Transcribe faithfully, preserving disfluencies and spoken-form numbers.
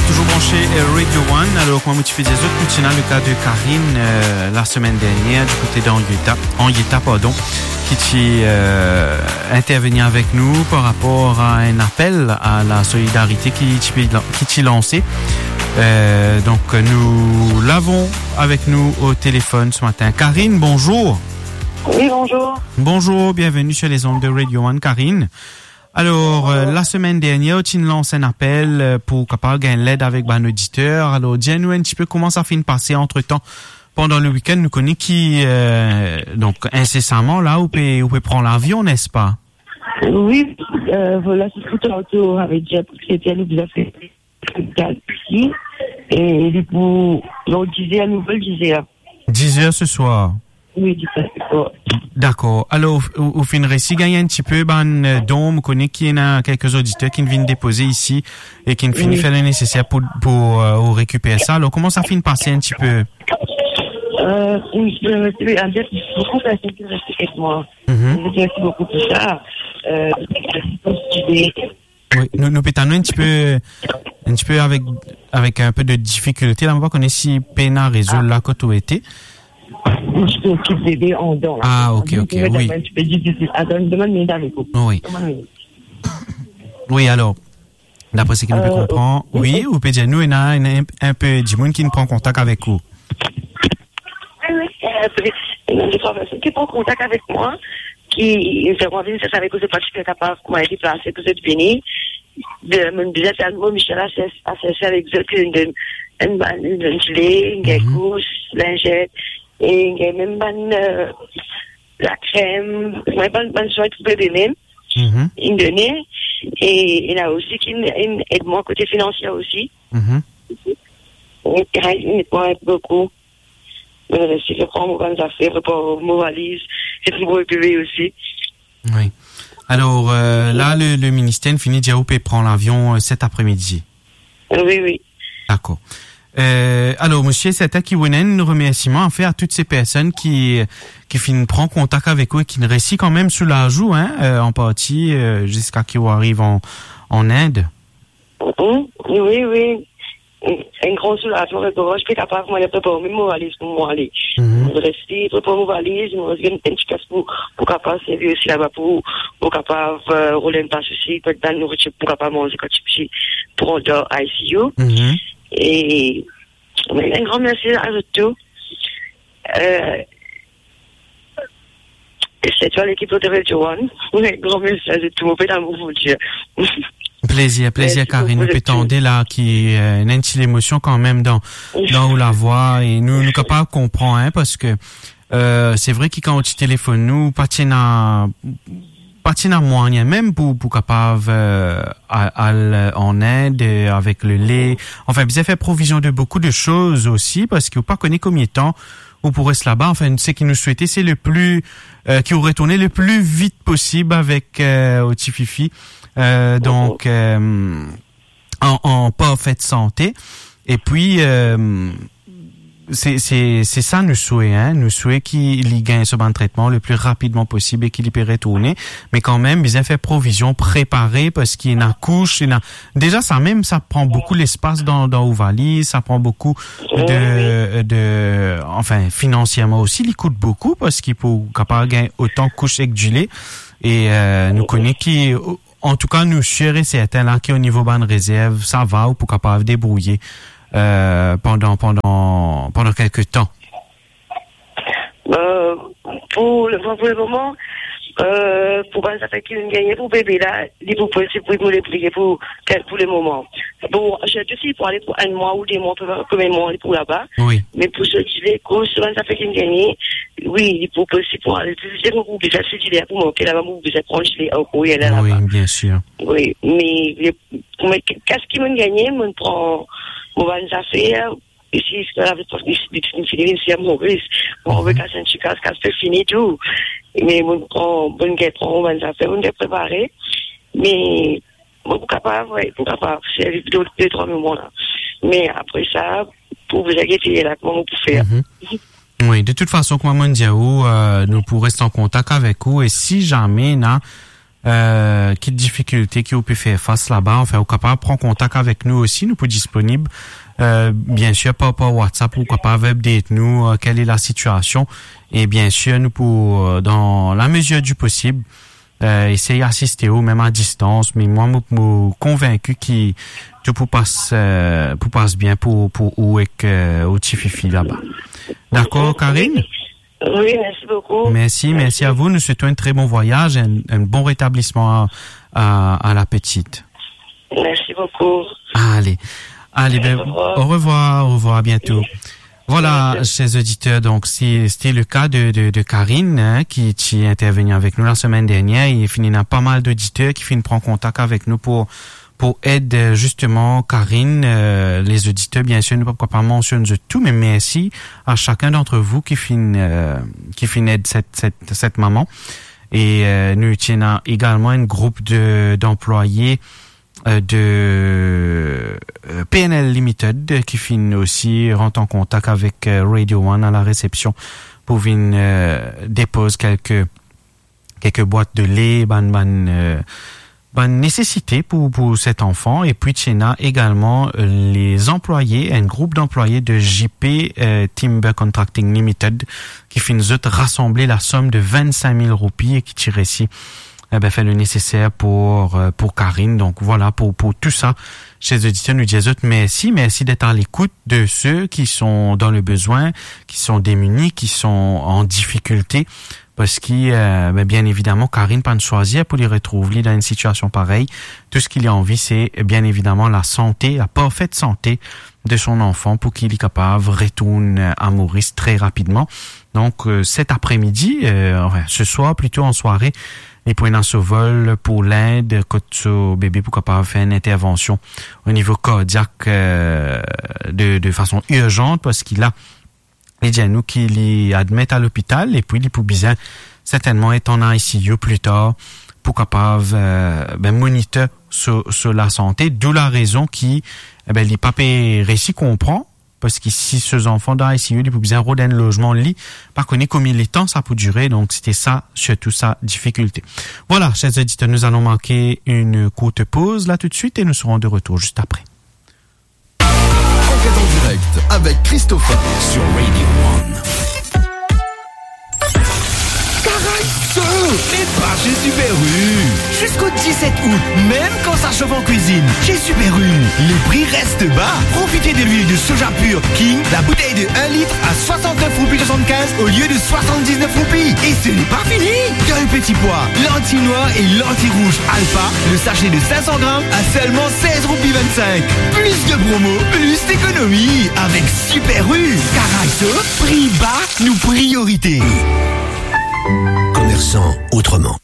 Touzour branche, euh, Radio One. Alor, kouma mo ti pe dir zot, nou ti ena le ka de Karine, euh, la semenn dernier, du kote d'Henrietta, Henrietta, pardon, ki ti, euh, interveni avek nou par rapor a enn apel a la solidarite ki ti pe lan-, ki ti lanse. Euh, donk, nou l'avons avek nou o telefon se matin. Karine, bonzour. Oui, bonzour. Bonzour, bienvenue sur les ondes de Radio One, Karine. Alor, euh, la semenn dernier, ou ti lans enn apel, euh, pou kapav gagn led avek bann oditer. Alor, dir nou enn tipe kouma sa finn pase antretan pandan le week-end. Nou kone ki, euh, donk, insesaman la, ou pe, ou pe pran lavion, nespa? Oui, euh, voilà, c'est ce que tantôt on avait déjà pris, c'était nous déjà fait. Gal isi, e li pou, non, dizer, nou vol dizer. Dizer se swar. Oui, dizer se swar. Dakor. Alor, ou, ou finn resi gagn enn tipe bann, euh, don, mo kone ki ena kelke oditer ki vinn depoze isi e ki finn fer le neseser pou, pou, euh, ou rekiper sa. Alor, kouma sa finn pase enn tipe? Euh, oui, je remercie, en fait, beaucoup de personnes qui restent avec moi. Mhm. Je remercie beaucoup pour ça. Euh, merci pour cette idée. Oui, nou, nou pe tann ou enn tipe, enn tipe avek, avek enn pe de difikilte la, mo pa kone si pena rezo la kot ou ete. Mo ti pe okip bebe andan la. Ah, ok, ok, oui. Enn tipe difisil. Atann, demann minit avek ou. Oui. Demann minit. Oui, alor, dapre seki nou pe konpran, oui, ou pe dir nou, ena, ena enn, enn pe dimoun ki pran kontak avek ou. Wi, wi, euh, wi. Ena de trwa persin ki pran kontak avek mwa, ki, zot inn vinn sers avek ou, zot pa ti pe kapav kouma deplase pou zot vini. De, mo bizin fer mo, Michel a sers, a sers avek zot, ki donn enn bann, enn bann zile, enn gagn kous, linzet, e enn gagn mem bann, euh, lakrem, mem bann, bann swin pou bebe mem. Inn done, e ena osi ki inn, inn ed mwa kote finansier osi. E, inn ed mwa boukou. Mo resi, mo pran mo bann zafer, prepar mo valiz, e pou mo bebe osi. Wi. Alor, euh, la, le, le minister finn dir ou pe pran lavion, euh, set apremidi. Wi, wi. Dakor. Euh, alor, misie, se ta ki ou ena enn remersiman a fer a tout se personn ki, ki finn pran kontak avek ou e ki resi kanmem soulaz ou, hein, euh, an parti, euh, ziska ki ou ariv an, an Inde. Mm, wi, wi. Enn gran soulazman, parski mo pe kapav mwa prepar mem mo valiz pou mo ale. Mo resi prepar mo valiz, mo resi gagn enn ti kas pou, pou kapav servi osi laba pou, pou kapav, euh, rod enn pas osi, pou dan nouritir, pou kapav manze kan ti, ti pou dan I C U. E, enn gran mersi a zot tou. Euh, E sirtou lekip de Radio One. Wi, gran mersi a zot tou, mo pe lamour pou dir. Plezir, plezir, Karine. Nou pe tande la ki, euh, ena enn ti lemosion kanmem dan, dan ou lavwa, e nou, nou kapav konpran, hein, parski, euh, se vre ki kan ou ti telefonn nou, pa ti ena, pa ti ena mwayin mem pou, pou kapav, euh, al, al, euh, an Inde, euh, avek lele. Anfin, bizin fer provizion de boukou de soz osi, parski ou pa kone konbien tan ou pou res laba. Anfin, seki nou swete, se le pli, euh, ki ou retourne le pli vit posib avek, euh, ou tififi. Euh, donk, euh, an, an parfet sante. E pi, euh, se, se, se sa nou swete, hein. Nou swete ki li gagn so bann tretman le pli rapidman posib e ki li pe retourne. Me kanmem, bizin fer provizion, prepare, parski ena kous, ena Deza sa mem, sa pran boukou lespas dan, dan ou valiz, sa pran boukou de, de, anfin, finansierman osi, li kout boukou, parski pou kapav gagn otan kous ek dile. E, euh, nou kone ki, antouka, nou sir e sertin la ki o nivo bann rezerv, sa va, ou pou kapav debrouye, euh, pandan, pandan, pandan kelke tan. Euh, pou le, pou le moman, euh, pou bann zafer ki vinn gagne pou bebe la, li pou posib pou, pou le, pou, pou le moman. Bon, sirtou si pou ale pou enn mwa ou de mwa, pou konbien mwa li pou laba. Wi. Me pou sot dile, koz bann zafer ki vinn gagne, wi, li pou posib pou ale. Si se pou bizin sot dile pou manke laba, pou bizin pran dile ankor, ale laba. Wi, bien sir. Wi, me, me, me, kas ki vinn gagne, mo pran mo bann zafer, isi, isi, isi, isi, isi, isi, isi, mo, mo, mo, kas enn ti kas, kas pe fini tou. Me mo pran, mo gagn pran mo bann zafer, mo gagn prepare. Me mo pou kapav, wi, pou kapav servi de, de trwa moman la. Me apre sa, pou bizin gete la, kouma mo pou fer. Mhm. Wi, de tout fason, kouma mo dir ou, euh, nou pou res an kontak avek ou, e si zame ena euh, ki difikilte ki ou pe fer fas laba. Anfin, ou kapav pran kontak avek nou osi, nou pou disponib, euh, bien sir, par, par WhatsApp, ou kapav update nou, euh, quelle est la situation. E bien sir, nou pou, euh, dan lamezir di posib, euh, esey asiste ou, mem a distans, me mwa, mo, mo konvinki ki tou pou pas, euh, pou pas bien pou, pou ou ek, euh, ou tififi laba. Dakor, Karine? Oui, merci beaucoup. Merci, merci à vous. Nous souhaitons un très bon voyage, un, un bon rétablissement à, à, à la petite. Merci beaucoup. Allez. Allez, ben, au revoir, au revoir, à bientôt. Voilà, chers auditeurs, donc si, c'était le cas de, de, de Karine, hein, ki, ki ti interveni avek nou la semenn dernier. E finn ena pa mal d'oditer ki finn pran kontak avek nou pou, pou ed, euh, zisteman Karine. Euh, les auditeurs, bien sir, nou pa kapav mansionn zot tou, me mersi a sakenn d'antre vou ki finn, euh, ki finn ed set, set, set mama. E, euh, nou ti ena egalman enn group de, d'anplwaye, euh, de, euh, P N L Limited, euh, ki finn osi rant an kontak avek, euh, Radio One a la resepsion pou vinn, euh, depoz kelke, kelke bwat de le, bann, bann, euh, bann nesesite pou, pou set anfan. E pi ti ena egalman, euh, les employés, enn group d'anplwaye de J P, euh, Timber Contracting Limited, ki finn zot rasanble lasom de vennsenk mil roupi e ki ti resi, eh ben, fer le neseser pou, euh, pou Karine. Donk, vwala, pou, pou tou sa, chers auditeurs, nou dir zot mersi. Mersi d'être à l'écoute de ceux qui sont dans le besoin, qui sont démunis, qui sont en difficulté. Parski, euh, ben, bien évidemment, Karine pa'nn swazir pou li retrouv li dan enn sitiasion parey. Tou seki li anvi, se, bien évidemment, la santé, la parfaite santé de son enfant pou ki li kapav retourn a Moris tre rapidman. Donk, euh, cet après-midi, euh, anfin, ce soir plito, an sware, li pou ena so vol pou Lind, kot so bebe pou kapav fer enn intervansion o nivo kardiak, euh, de, de fason irzant, parski la, li dir nou ki li admet a lopital, e pi li pou bizin sertennman et an I C U pli tar pou kapav, euh, ben, monitor so, so lasante, d'où la rezon ki, eh ben, li pa pe resi konpran, parski si so zanfan dan I C U, li pou bizin rod enn lozman, li pa kone konbien letan sa pou dire, donk se te sa, sirtou sa difikilte. Vwala, chers auditeurs, nous allons marquer une courte pause là tout de suite et nous serons de retour juste après. Enquête en direct avec Christopher sur Radio One. Caray, so, met pa chez Super U. Jusqu'au dix-sept août, même quand ça chauffe en cuisine, chez Super U, les prix restent bas. Profitez de l'huile de soja pur King, la bouteille de un litre à soixante-neuf roupies soixante-quinze au lieu de soixante-dix-neuf roupies. Et ce n'est pas fini. Dans le petit pois, lentilles noires et lentilles rouges Alpha, le sachet de cinq cents grammes à seulement seize roupies vingt-cinq. Plus de promos, plus d'économies avec Super U. Caray so, pri ba, nou priorité. Commerçant autrement.